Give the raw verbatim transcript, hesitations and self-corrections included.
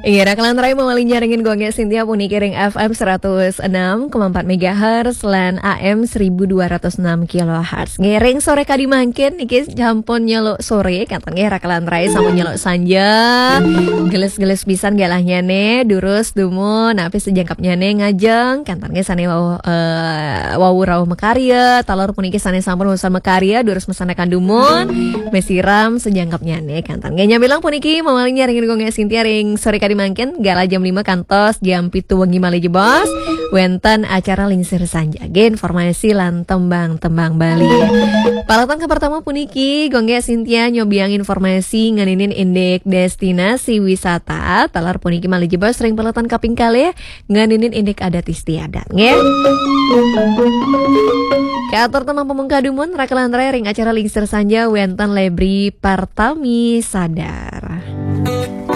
Iya, raka lan rai mamaling nyarengin Gung Gé Sintia puniki ring F M seratus enam koma empat megahertz lan A M seribu dua ratus enam kilohertz. Nggih, ring sore kadi mangkin niki sampun nyeluk sore, kénten nggih raka lan rai sampun nyeluk sanja. Gelis-gelis pisan galahnyane, durus dumun, napi sajangkepnyane ngajeng, kénten nggih sane wau, eh, wau rauh makarya, taler puniki sane sampun wusan makarya, durus masandekan dumun, masiram sajangkepnyane, kénten nggih. Nyamilang puniki mamaling nyarengin Gung Gé Sintia ring sore kadi mangkin, galah jam lima kantos jam pitu wengi malih jebos, wenten acara Lingsir Sanja. Nggih, informasi lan tembang-tembang Bali. Paletan ka pertama puniki, Gung Gé Sintia nyobiang informasi ngeninin indik destinasi wisata. Taler puniki malih jebos ring paletan kaping kalih ngeninin indik adat istiadat, nggih. Katur tembang pamungkah dumun, raka lan rai ring acara Lingsir Sanja wenten Lebri Partami Sadar.